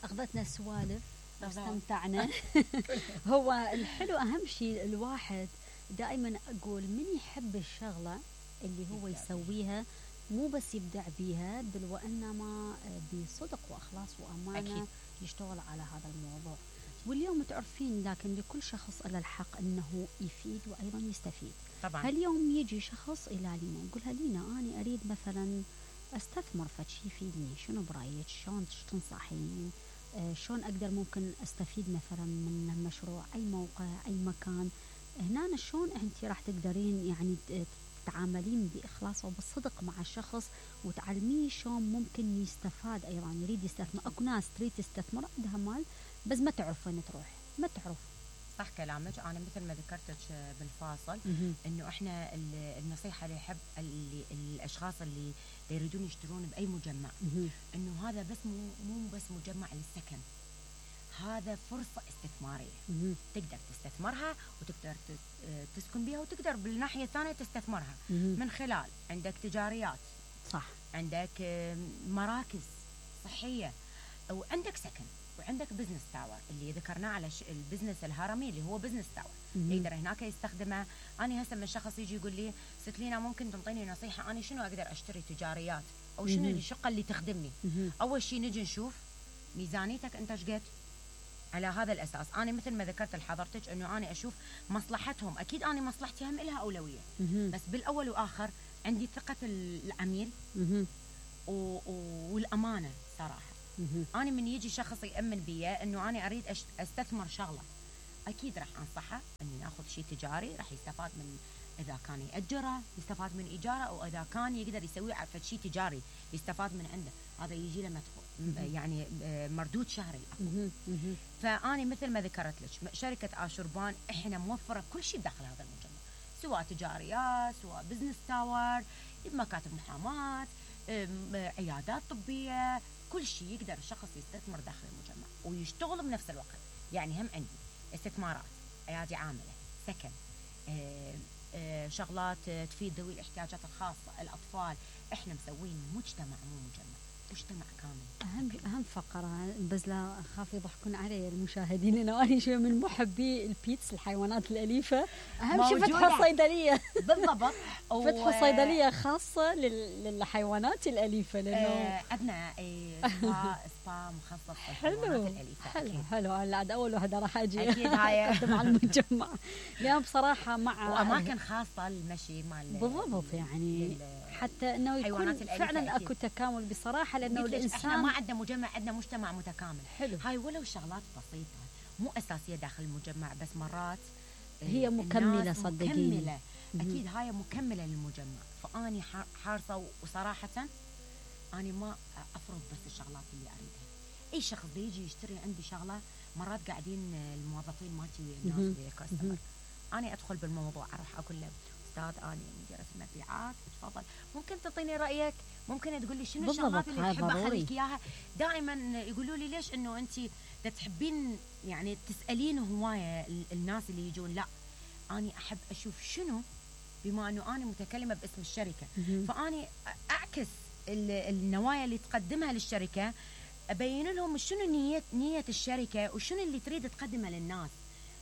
أخذتنا السوالف واستمتعنا. هو الحلو أهم شيء الواحد دائما أقول من يحب الشغلة اللي هو يسويها مو بس يبدع بيها بل وإنما بصدق وإخلاص وأمانة أكيد. يشتغل على هذا الموضوع. واليوم تعرفين لكن لكل شخص له الحق أنه يفيد وأيضا يستفيد. طبعا اليوم يجي شخص إلى لينا يقولها لينا أنا أريد مثلا أستثمر فشي يفيدني، شنو برأيك؟ شلون تنصحين؟ شلون أقدر ممكن أستفيد مثلا من المشروع؟ أي موقع، أي مكان؟ هنا شلون أنت راح تقدرين يعني تتعاملين بإخلاص وبالصدق مع الشخص وتعلميه شلون ممكن يستفاد أيضا يريد يستثمر. أكو ناس تريد تستثمر عندها مال بس ما تعرف وين تروح، ما تعرف. صح كلامك. أنا مثل ما ذكرتك بالفاصل إنه إحنا النصيحة اللي يحب الأشخاص اللي يريدون يشترون بأي مجمع إنه هذا بس مو بس مجمع للسكن، هذا فرصة استثمارية تقدر تستثمرها وتقدر تسكن بها وتقدر بالناحية الثانية تستثمرها من خلال عندك تجاريات، صح، عندك مراكز صحية وعندك سكن وعندك بزنس تاور اللي ذكرناه على البزنس الهرمي اللي هو بزنس تاور يقدر هناك يستخدمه. أنا هسه من شخص يجي يقول لي ست لينا ممكن تنطيني نصيحة أنا شنو أقدر أشتري تجاريات أو شنو الشقة اللي تخدمني؟ أول شيء نجي نشوف ميزانيتك أنت شقد. على هذا الأساس أنا مثل ما ذكرت لحضرتك إنه أنا أشوف مصلحتهم، أكيد أنا مصلحتي هم لها أولوية بس بالأول وآخر عندي ثقة العميل والأمانة صراحة. أنا من يجي شخص يأمن بي إنه أنا أريد أستثمر شغلة أكيد راح أنصحه إنه يأخذ شيء تجاري راح يستفاد من، إذا كان يأجره يستفاد من إيجاره أو إذا كان يقدر يسوي على شيء تجاري يستفاد من عنده، هذا يجي له مدخول يعني مردود شهري. فأنا مثل ما ذكرت لك شركة آشوربان إحنا موفرة كل شيء داخل هذا المجمع، سواء تجاريات سواء بزنس تاور، مكاتب محاماة، عيادات طبية، كل شيء يقدر الشخص يستثمر داخل المجمع ويشتغل بنفس الوقت. يعني هم عندي استثمارات، أيادي عاملة، سكن، شغلات تفيد ذوي الاحتياجات الخاصة، الأطفال. إحنا مسوين مجتمع مو مجمع، مجتمع كامل. أهم فقرة بس لا أخاف يضحكون علي المشاهدين لأنه أنا شوية من محبي البيتس الحيوانات الأليفة. أهم شيء فتح صيدلية بالضبط فتح صيدلية خاصة للحيوانات الأليفة لأنه أبناء سبا مخصص للحيوانات الأليفة. حلو أنا أول واحدة راح أجي أكيد هاي مع المجمع لأن بصراحة مع وأماكن خاصة للمشي مال بالضبط يعني حتى إنه يكون فعلا أكو تكامل بصراحة لأنه الإنسان إحنا ما عندنا مجمع، عندنا مجتمع متكامل. حلو. هاي ولو شغلات بسيطة مو أساسية داخل المجمع بس مرات هي مكملة صدقيني. مكملة أكيد هاي مكملة للمجمع. فأني حارصة وصراحة أنا ما أفرض بس الشغلات اللي أريدها. أي شخص بيجي يشتري عندي شغلة مرات قاعدين الموظفين مالتي والناس اللي كاستمر أنا أدخل بالموضوع أروح أقول له أستاذ أنا مديرة المبيعات تفضل ممكن تعطيني رأيك، ممكن تقول لي شنو الشغلات اللي تحب أخليك إياها. دائما يقولوا لي ليش إنه أنت تحبين يعني تسألين هواية الناس اللي يجون. لا أنا أحب أشوف شنو بما أنه أنا متكلمة باسم الشركة فأني أعكس النوايا اللي تقدمها للشركة، أبين لهم شنو نية الشركة وشنو اللي تريد تقدمه للناس.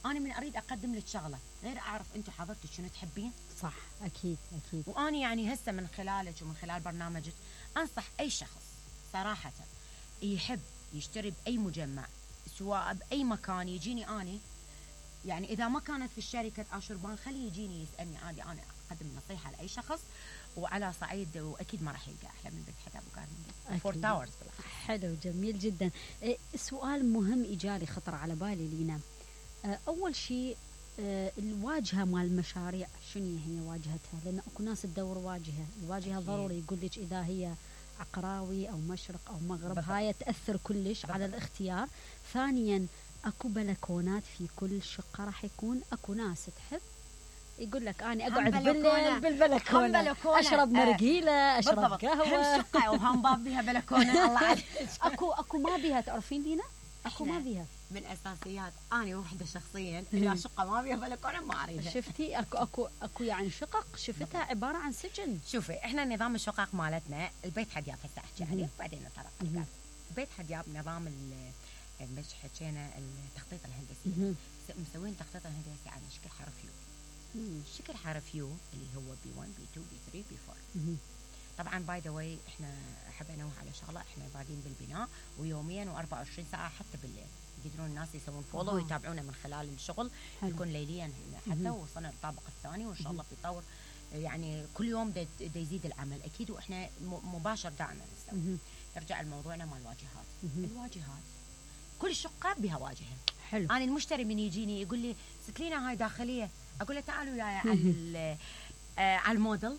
أنا من أريد أقدم لك شغلة غير أعرف أنتوا حضرتك شنو تحبين. صح أكيد أكيد. وأنا يعني هسه من خلالك ومن خلال برنامجك أنصح أي شخص صراحة يحب يشتري بأي مجمع سواء بأي مكان يجيني أنا يعني إذا ما كانت في الشركة آشوربان خليه يجيني يسألني عادي أنا أقدم نصيحة لأي شخص وعلى صعيد وأكيد ما راح يلقى أحلى من بيت حتى أبو قارن فور تاورز. حلو جميل جدا. سؤال مهم إجالي خطر على بالي لينا. أول شيء الواجهة مال المشاريع شنو هي واجهتها؟ لأن أكو ناس تدور واجهة، الواجهة ضروري يقول لك إذا هي عقراوي أو مشرق أو مغرب هاي تأثر كلش على الاختيار. ثانيا أكو بلكونات في كل شقة راح يكون أكو ناس تحب يقول لك أنا أقعد بالليل بالبلكونة أشرب مرقيلة أشرب قهوة. هم شقة وهم باب بيها بلكونة الله عاد. أكو ما بيها تعرفين لينا؟ أكو ما بيها من أساسيات أنا وحدة شخصيا إذا شقة ما بيها بلكونة ما أريدها. شفتي أكو يعني شقق شفتها عبارة عن سجن. شوفي إحنا نظام الشقق مالتنا البيت حد يافه أحكي عليه بعدين نطرق. بيت حدياب نظام مش حكينا التخطيط الهندسي، مسوين تخطيط الهندسي على شكل حرف يو. شكل حرف يو اللي هو B1 B2 B3 B4. طبعا باي ذا واي احنا احب انوه على شغله، احنا بادين بالبناء ويوميا و24 ساعه حتى بالليل يقدرون الناس يسوون فولو ويتابعونا من خلال الشغل. يكون ليليا حتى وصلنا للطابق الثاني وان شاء الله بيطور، يعني كل يوم دا يزيد العمل اكيد، واحنا مباشر دائما نسوي. نرجع لموضوعنا مال الواجهات. الواجهات كل شقه بها واجهه. حلو. انا المشتري من يجيني يقول لي ستلينا هاي داخليه، اقول له تعالوا وياي على الموديل،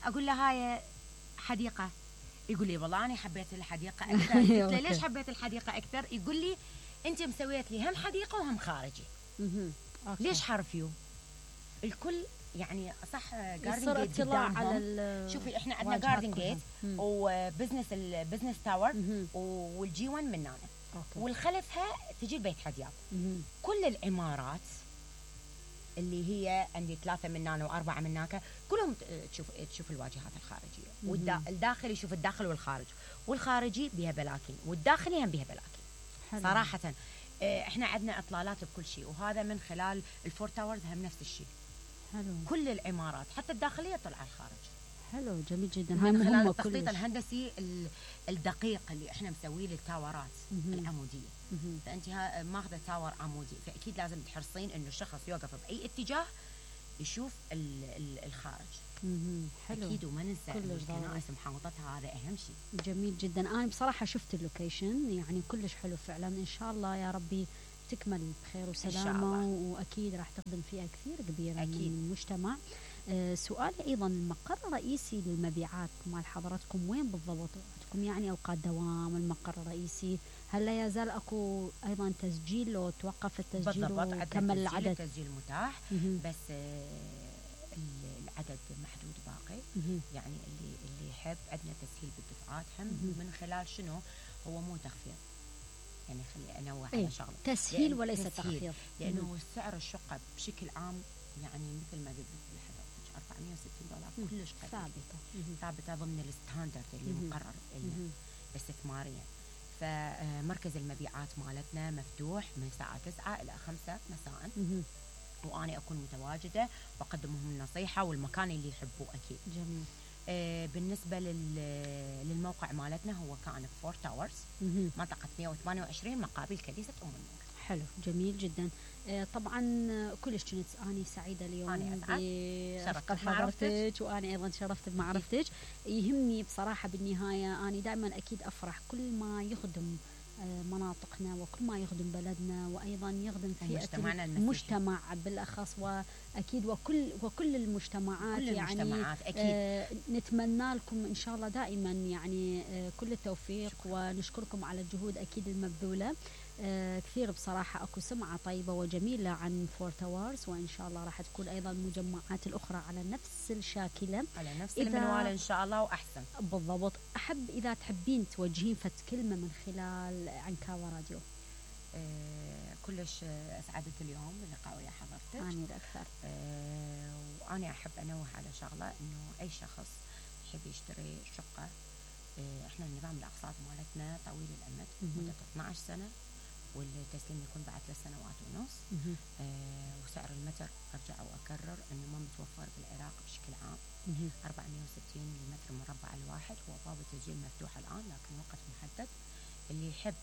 اقول له هاي حديقه، يقول لي والله انا حبيت الحديقه اكثر. قلت له ليش حبيت الحديقه اكثر؟ يقول لي انت مسويت لي هم حديقه وهم خارجي. ليش حرف يو؟ الكل يعني صح جاردن جيت قدامهم. شوفي احنا عندنا جاردن جيت وبزنس تاور والجي 1 مننا، والخلفها تجي البيت حدياب. كل العمارات اللي هي عندي 3 من هنا و4 من هناك كلهم تشوف الواجهات الخارجيه، والداخل يشوف الداخل والخارج، والخارجي بها بلاكين والداخلي هم بها بلاكين. صراحه احنا عندنا اطلالات بكل شيء، وهذا من خلال الفور تاورز هم نفس الشيء. حلو. كل العمارات حتى الداخليه طلع الخارج. حلو جميل جدا. هاي من خلال التخطيط الهندسي الدقيق اللي احنا مسويه للتاورات العموديه. فانت ماخذه تاور عمودي، فاكيد لازم تحرصين انه الشخص يوقف باي اتجاه يشوف الخارج. حلو. اكيد وما ننسى الكنائس محاوطتها، هذا اهم شيء. جميل جدا. انا بصراحه شفت اللوكيشن يعني كلش حلو فعلا. ان شاء الله يا ربي تكمل بخير وسلامه، واكيد راح تخدم فئه كثير كبيره أكيد من المجتمع. سؤالي ايضا، المقر الرئيسي للمبيعات مال حضراتكم وين بالضبط؟ عندكم يعني اوقات دوام المقر الرئيسي؟ هل لا يزال اكو ايضا تسجيل لو توقف التسجيل وكمل العدد؟ التسجيل متاح بس العدد محدود باقي. يعني اللي يحب عندنا تسهيل بالدفعات هم من خلال شنو؟ هو مو تخفيض، يعني خلي انوه على شغله تسهيل وليس تخفيض، لانه سعر الشقه بشكل عام يعني مثل ما قلت $460 كلش ثابته ضمن الستاندرد اللي مقرر لنا استثماريا. فمركز المبيعات مالتنا مفتوح من الساعه 9 الى 5 مساء، وانا اكون متواجده واقدم لهم النصيحه والمكان اللي يحبوه اكيد. جميل. بالنسبه للموقع مالتنا هو كان فور تاورز، منطقه 128 مقابل كنيسه ام النور. حلو جميل جدا. طبعا كلش كنت اني سعيده اليوم برفقه حضرتك، وانا ايضا تشرفت بمعرفتك. يهمني بصراحه بالنهايه اني دائما اكيد افرح كل ما يخدم مناطقنا وكل ما يخدم بلدنا، وايضا يخدم فئه المجتمع بالاخص، واكيد وكل المجتمعات. كل يعني المجتمعات أكيد. نتمنى لكم ان شاء الله دائما يعني كل التوفيق. شكرا. ونشكركم على الجهود اكيد المبذوله. كثير بصراحه اكو سمعه طيبه وجميله عن فور تاورز، وان شاء الله راح تكون ايضا المجمعات الاخرى على نفس الشاكله، على نفس المنوال ان شاء الله واحسن. بالضبط. احب اذا تحبين توجهين فت كلمه من خلال عنكاوة راديو. كلش اسعدت اليوم بلقاء ويا حضرتك. اني الاكثر. وانا احب انوه على شغله، انه اي شخص يحب يشتري شقه، احنا نظام الاقساط مالتنا طويل الامد مده 12 سنه، والتسليم يكون بعد 3 سنوات ونص. وسعر المتر ارجع واكرر انه ما متوفر بالعراق بشكل عام. 460 للمتر مربع الواحد، هو باب التسجيل مفتوح الان لكن وقت محدد. اللي يحب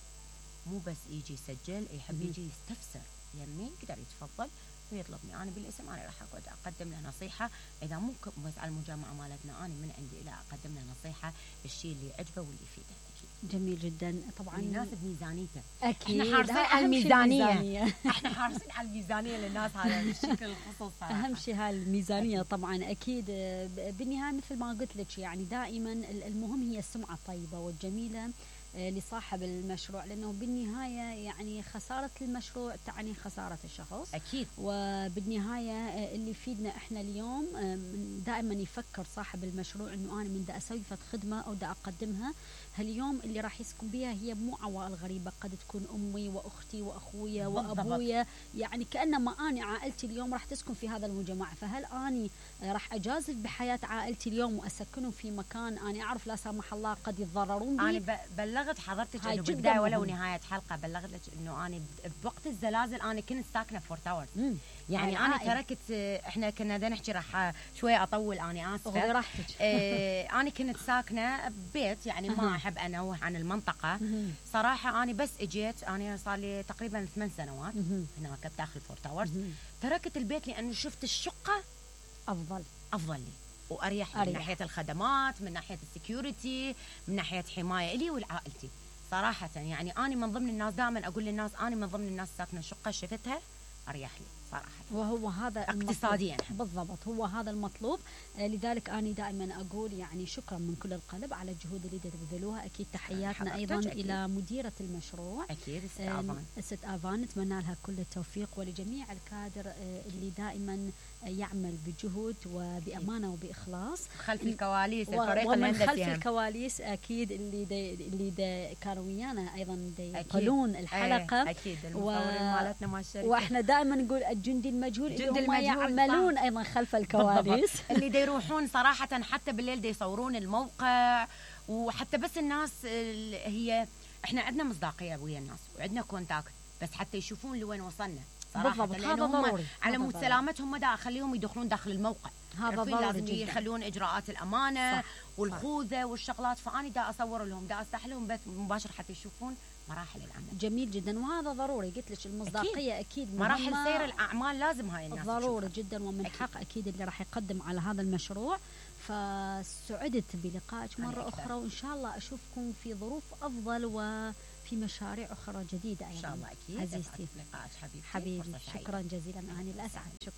مو بس يجي يسجل، يحب يجي يستفسر يمين يقدر يتفضل ويطلبني انا بالاسم. انا راح اقدم له نصيحه، اذا مو بس على المجامعه مالتنا، انا من عندي الى اقدم له نصيحه بالشيء اللي يعجبه واللي يفيده. جميل جدا. طبعا يناسب ميزانيته. اكيد احنا حارصين على الميزانيه. احنا حارصين على الميزانيه للناس، هذا بالشكل الخصوصي صراحه. اهم شيء هاي الميزانيه طبعا اكيد. بالنهايه مثل ما قلت لك يعني دائما المهم هي السمعه الطيبه والجميله لصاحب المشروع، لانه بالنهايه يعني خساره المشروع تعني خساره الشخص اكيد. وبالنهايه اللي يفيدنا احنا اليوم دائما يفكر صاحب المشروع انه انا من دا اسوي فد خدمه او دا اقدمها هاليوم اللي راح يسكن بها هي مو عوائل غريبة، قد تكون أمي وأختي وأخويا بالضبط. وأبويا، يعني كأنما أنا عائلتي اليوم راح تسكن في هذا المجمع. فهل أني راح أجازف بحياة عائلتي اليوم وأسكنهم في مكان أنا أعرف لا سمح الله قد يتضررون به؟ انا بلغت حضرتك هاي انه جداً بالبدايه ولو مهم. نهايه حلقه بلغت لك انه انا بوقت الزلازل انا كنت ساكنه في فورت تاورز. يعني هاي انا عائلة. تركت، احنا كنا بدنا نحكي راح شويه اطول، انا خذي اسفه. راحتك. انا كنت ساكنه ببيت، يعني ما احب انوه عن المنطقه. صراحه انا بس اجيت، انا صار لي تقريبا 8 سنوات هناك بداخل فورت تاورز. تركت البيت لانه شفت الشقه افضل لي واريح لي من ناحيه الخدمات، من ناحيه السكيورتي، من ناحيه حمايه لي ولعائلتي. صراحه يعني انا من ضمن الناس، دائما اقول للناس انا من ضمن الناس ساكنه شقه شفتها اريح لي صراحه، وهو هذا اقتصاديا بالضبط، هو هذا المطلوب. لذلك أنا دائما أقول يعني شكرا من كل القلب على الجهود اللي تبذلوها. أكيد تحياتنا أيضا أكيد. إلى مديرة المشروع اكيد ست آفان، نتمنى لها كل التوفيق، ولجميع الكادر اللي دائما يعمل بجهد وبأمانة وبإخلاص خلف الكواليس، الفريق ومن الهندسي خلف الكواليس أكيد اللي كانوا ويانا أيضا يقلون الحلقة. أكيد المصورين مالتنا مال الشركة، واحنا دائما نقول الجندي المجهول اللي هم يعملون أيضا خلف الكواليس اللي دا يروحون صراحة حتى بالليل دا يصورون الموقع، وحتى بس الناس هي احنا عندنا مصداقية ويا الناس وعندنا كونتاكت، بس حتى يشوفون لوين وصلنا صراحة. بالضبط، هذا ضروري على مود سلامتهم ما دا اخليهم يدخلون داخل الموقع، هذا ضروري لازم جدا. يخلون اجراءات الامانة صح. والخوذة والشغلات. فاني دا اصور لهم، دا افتح لهم بث مباشر حتى يشوفون مراحل العمل. جميل جدا، وهذا ضروري. قلت لك المصداقيه اكيد مراحل سير الاعمال لازم هاي الناس ضروري تشوفها. جدا، ومن حق اكيد اللي راح يقدم على هذا المشروع. فسعدت بلقائك مره اخرى، وان شاء الله اشوفكم في ظروف افضل وفي مشاريع اخرى جديده ايضا ان شاء الله. اكيد عزيزتي لقائك حبيبي، شكرا جزيلا. اني الاسعد. شكرا.